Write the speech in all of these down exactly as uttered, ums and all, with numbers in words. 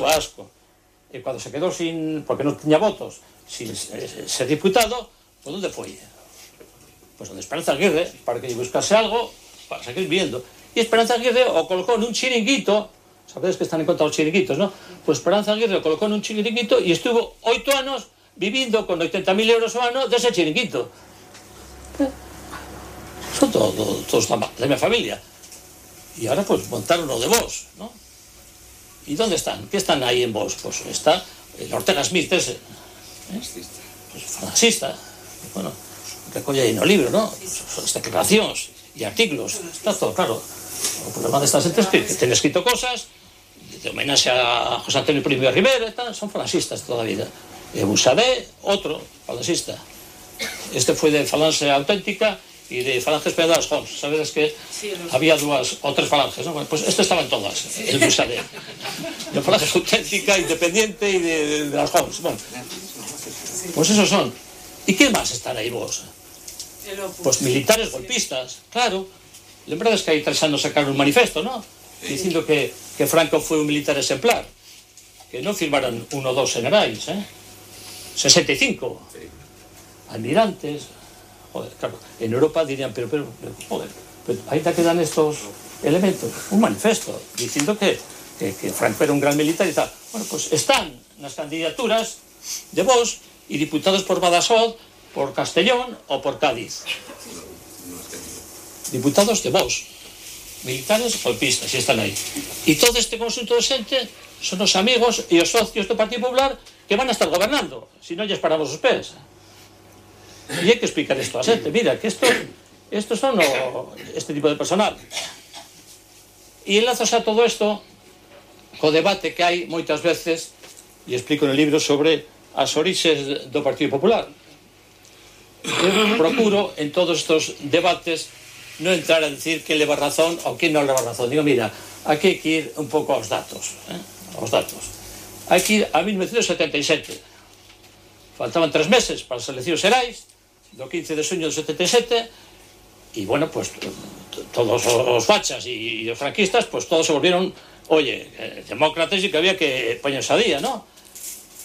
daba asco. E cando se quedou sin, porque non tiña votos, sin ser diputado, pues onde foi? Pues onde Esperanza Aguirre, para que lle buscase algo para seguir viviendo. E Esperanza Aguirre o colocou nun chiringuito, sabedes que están en contra os chiringuitos, non? Pues Esperanza Aguirre o colocou nun chiringuito e estuvo oito anos vivindo con oitenta mil euros ao ano dese chiringuito. Son todos todo, todo da minha familia. E ahora pues montaron o de Vox, ¿no? ¿Y dónde están? ¿Qué están ahí en Vox? Pues está el Ortega Smith ese, ¿eh? Pues fascista. Bueno, recolle aí no libro, ¿no? As declaracións e artículos, está todo claro. O problema destas entes que, que ten escrito cosas de homenaxe a José Antonio Primo de Rivera, tal, son falanxistas toda a vida. E Busadé, outro falanxista. Este foi de Falange Auténtica e de Falange Española das Jons. Sabedes que sí, había dúas ou tres falanges, non? Bueno, pues este estaba en todas, el Busadé. De Falange Auténtica, Independiente e de, de, de las Jons. Bueno, pues esos son. E que máis están aí vos? Pues militares golpistas, claro. Lembrades que hai tres anos sacaron un manifesto, non? Dicindo que, que Franco foi un militar exemplar. Que non firmaran un ou dos generais, eh? sesenta e cinco. Almirantes. Joder, claro. En Europa dirían, pero, pero, pero joder, pero ainda quedan estos elementos. Un manifesto, dicindo que, que, que Franco era un gran militar e tal. Bueno, pues están nas candidaturas de Vox e diputados por Badajoz, por Castellón ou por Cádiz. Diputados de Vox, militares golpistas, e están aí. E todo este conjunto de xente son os amigos e os socios do Partido Popular que van a estar gobernando, se non lles paramos os pés. E hai que explicar isto a xente, mira, que estos, estos son o, este tipo de personal. E enlazos a todo isto co debate que hai moitas veces, e explico no libro sobre as orixes do Partido Popular. Eu procuro en todos estes debates non entrar a decir que leva razón ou que non leva razón. Digo, mira, aquí hai que ir un pouco aos datos, eh? aos datos. Hai que ir a mil novecientos setenta e sete. Faltaban tres meses para as eleccións xerais, do quince de xuño do setenta e sete, e, bueno, pues, todos os fachas e os franquistas, pues, todos se volvieron, oye, eh, demócratas e que había que poñerse a día, ¿no?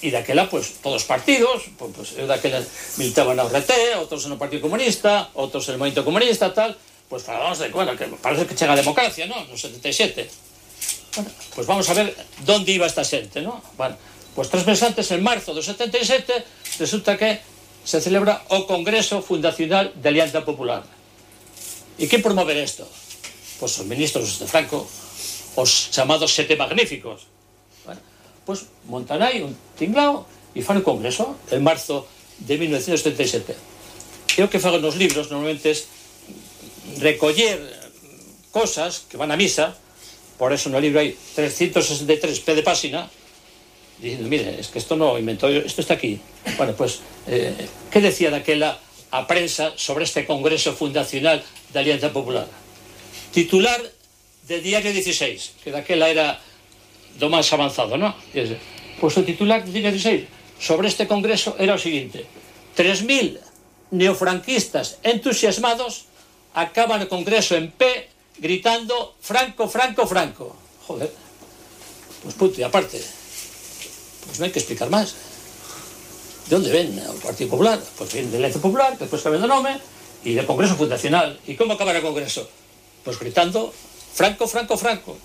E daquela, pues, todos os partidos, pues, pues, eu daquela militaba na O R T, outros no Partido Comunista, outros no Movimento Comunista, tal, pues falábamos de, bueno, que parece que chega a democracia, ¿no? No setenta e sete. Bueno, pues vamos a ver dónde iba esta xente, ¿no? Bueno, pues tres meses antes, en marzo do setenta e sete, resulta que se celebra o Congreso Fundacional de Alianza Popular. E que promover isto? Pues os ministros de Franco, os chamados Sete Magníficos. Bueno, pues montan aí un tinglao e fan o Congreso en marzo de mil novecientos setenta e sete. E o que fago nos libros normalmente es recoller cosas que van a misa, por eso no libro hai trescientos sesenta e tres pé de página, diciendo, mire, es que esto no inventó yo, esto está aquí. Bueno, pues, eh, ¿qué decía daquela a prensa sobre este Congreso Fundacional de Alianza Popular? Titular de Diario dieciséis, que daquela era do máis avanzado, ¿no? Pues o titular de Diario dieciséis sobre este Congreso era o seguinte: tres mil neofranquistas entusiasmados acaban o Congreso en pé gritando Franco, Franco, Franco. Joder, pues punto y aparte. Pues no hay que explicar más. ¿De dónde ven el Partido Popular? Pues viene de Alianza Popular, que después cambia de nombre, y del Congreso Fundacional. ¿Y cómo acaba el Congreso? Pues gritando Franco, Franco, Franco.